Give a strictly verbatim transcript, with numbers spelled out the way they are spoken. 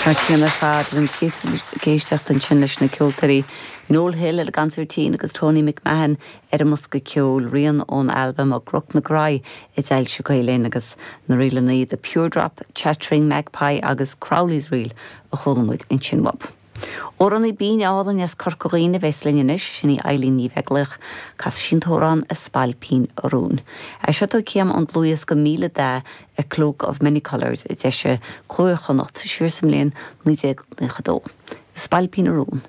Mar céanna fad an ag éisteacht ansin leis na ceoltóirí Noel Hill ar an gconsairtín agus Tony McMahon ar an mbosca ceoil rian ón albam Ó gCnoc na Graí a d'fhoilsigh Gael Linn agus na ríleanna The Pure Drop, Chattering Magpie agus Crowley's Reel a chuala muid ansin uaidh. Amhránaí binn álainn as Corca Dhuibhne a bheas linn anois sin í Eilín Ní Bheaglaoich casfaidh sí an t-amhrán A Spailpín Rún. É seo céim an dlúthas go míle da a Cloak of Many Colours a d'eisigh Cló Iar-Chonnacht siar sa mbliain naoi déag nócha dó. Spailpín Rún.